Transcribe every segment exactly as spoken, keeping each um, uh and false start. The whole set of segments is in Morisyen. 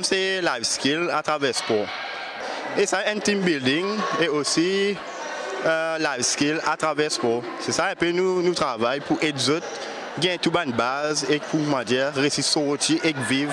Se life skill atraver spor. E sa enn team building e osi, eh, life skill atraver spor. Se sa enpe nou, nou travay pou ed zot gagn tou bann baz e pou, koumadir, resi sorti ek viv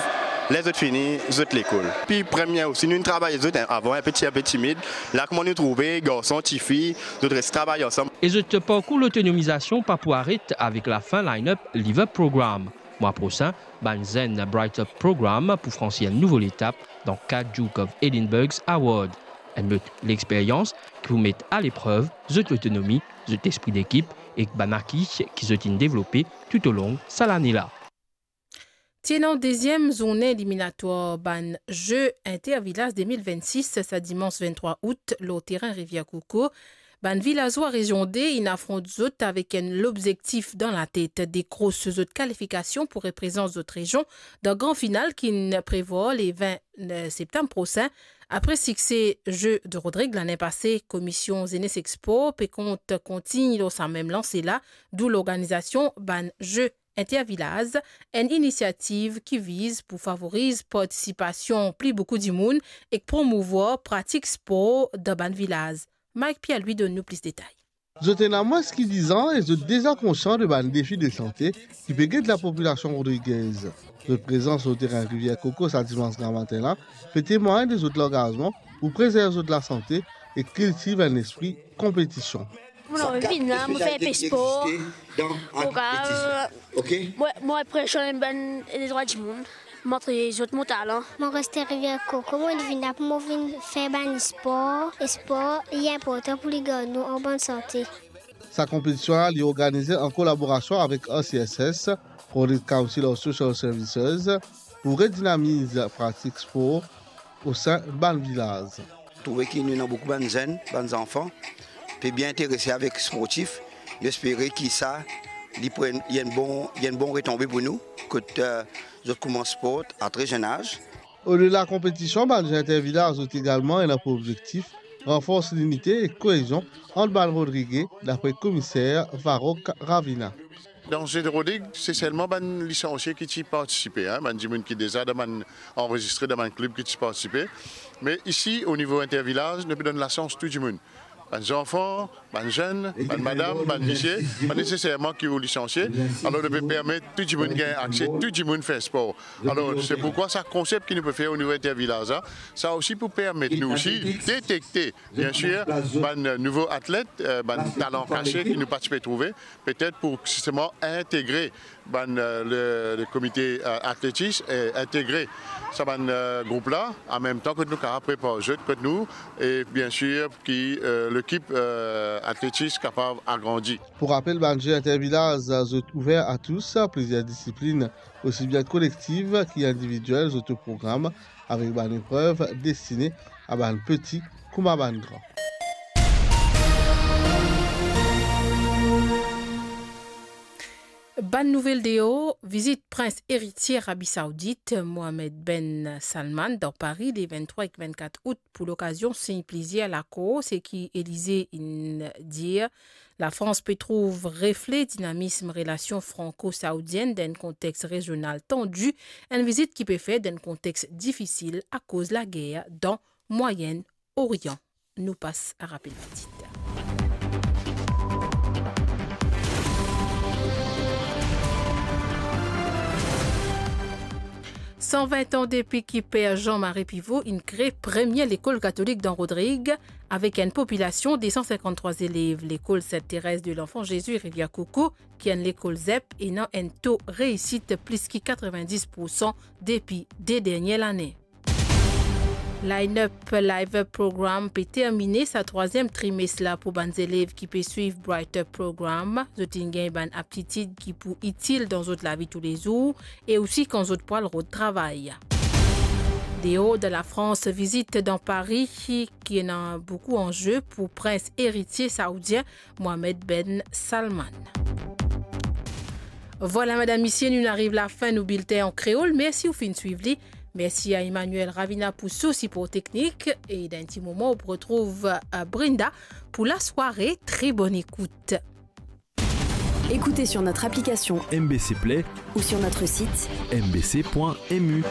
ler zot fini zot lekol. Pi premie osi, nou travay zot, en, avan enpe ti, enpe timid. La, kouma nou trouve garson, tifi, zot res travay ansam. E zot parkour lotonomizasion pa pou aret avek lafin line-up Live Up Program. Mwa prosin, bann zenn Bright Up Program pou fransi enn nouvo letap dan kad Duke of Edinburgh's Award. Enn lot lexperyans ki pou met aleprev zot lotonomi, zot lespri dekip ek bann aki ki zot inn devlope toutolong sa lane la. Ti ena deziem zourne eliminatwar bann Ze Intervilaz de mil vennsis, sa dimans venntrwa out, lor terin Rivier Coco. Bann vilazwa rezion de inn afront zot avek enn lobzektif dan latet, dekros zot kalifikasion pou reprezant zot rezion dan gran final ki'nn prevwar le vin septam prosin. Apre sikse Ze de Rodrig lane pase, Komisyon Zenes ek Spor pe kont kontign lor sa mem lanse la, dou lorganizasion bann Ze Intervilaz, enn inisiativ ki viz pou favoriz partisipasion pli boukou dimoun ek promouvwar pratik spor dan bann vilaz. Mike Pierre-Louis donn nou plis detay. Zot ena mwins ki diz an e zot deza konsian de bann defi de sante ki pe get lapopilasion rodrigez. Zot prezans lor terin Rivier Coco sa dimans gramatin la pe temwagn de zot langazman pou prezerv zot lasante e kiltiv enn lespri konpetision. Mo anvi vinn la, mo fer enpe spor. Mo kav, mo, mo reprezant bann, eh, drwa dimoun. Montre zot mo talan. Mo res Rivier Coco, mo vinn la pou mo vinn fer bann spor. E spor, li inportan pou li gard nou an bonn sante. Sa konpetision la, li organize an kolaborasion avek R C S S, Rodrigues Council of Social Services, pou redinamiz pratik spor osin bann vilaz. Trouve ki nou ena boukou bann zenn, bann zanfan, pe bien interese avek sportif. Nou espere ki sa, li pou enn, li enn bon, li enn bon retonbe pou nou, kot, eh, zot koumans sport a tre zenn az. Odela konpetision, bann Ze Intervilaz zot egalman ena pou obzektif ranfors linite ek koezion ant bann Rodrige, dapre komiser Varrock Ravina. Dan Ze de Rodrigues, se selman bann lisansie ki ti partisipe, en, bann dimoun ki deza dan bann, anrezistre dan bann klib ki ti partisipe. Me isi, o nivo intervilaz, nou pe donn lasans tou dimoun. Bann zanfan, bann zenn, bann madam, bann misie, pa neseserman ki ou lisansie. Alor, nou pe permet tou dimoun gagn akse, tou dimoun fer spor. Alor, se poukwa sa konsep ki nou pe fer o nivo intervilaz la, sa osi pou permet nou osi detekte, bien sir, bann nouvo atlet, eh, bann talan kase ki nou pa ti pe trouve, petet pou zisteman integre bann, eh, le, le komite, eh, atletis, e integre sa bann, eh, group la, an mem tan kot nou kapav prepar zot kot nou, e bien sir ki, eh, lekip, eh, atletis kapav agrandi. Pou rapel, bann Ze Intervilaz, zot ouver a tous, plizier disiplin, osi bien kolektiv ki individiel, zot program avek bann eprev destine a bann peti kouma bann gran. Bann nouvel deor, vizit Prins Eritie Arabi Saoudit, Mohamed Ben Salman, dan Pari, le venntrwa ek vennkat out, pou lokazion sign plizier lakor, seki Elize inn dir. Lafrans pe trouv refle dinamism relasion franko-saoudienn dan enn kontex rezional tandi, enn vizit ki pe fer dan enn kontex difisil akoz lager dan Mwayenn Orian. Nou pas a rapel titir. San vin an depi ki Per Jean-Marie Pivot inn kre premie lekol katolik dan Rodrig, avek enn popilasion de san sinkant-trwa zelev. Lekol Sainte Thérèse de l'Enfant Jésus Rivière Coco, ki enn lekol zep, ena enn to reisit plis ki katrevin-dis poursan depi de dernie lane. Line Up Live Up Program pe termine sa trwaziem trimes la pou bann zelev ki pe swiv Bright Up Program. Zot inn gagn bann aptitid ki pou itil dan zot lavi toulezour e osi kan zot pou al rod travay. Deor de Lafrans, vizit dan Pari ki ena boukou anze pou prins eritie saoudien Mohamed Ben Salman. Vwala, madam, misie, nou ariv lafin nou bilten an kreol. Mersi ou finn swiv li. Mersi a Emmanuel Ravina pou so sipor teknik. E dan enn ti moman, ou pou retrouv, euh, Brenda pou lasware. Très bonne écoute. Écoutez sur notre application M B C Play ou sur notre site M B C point M U.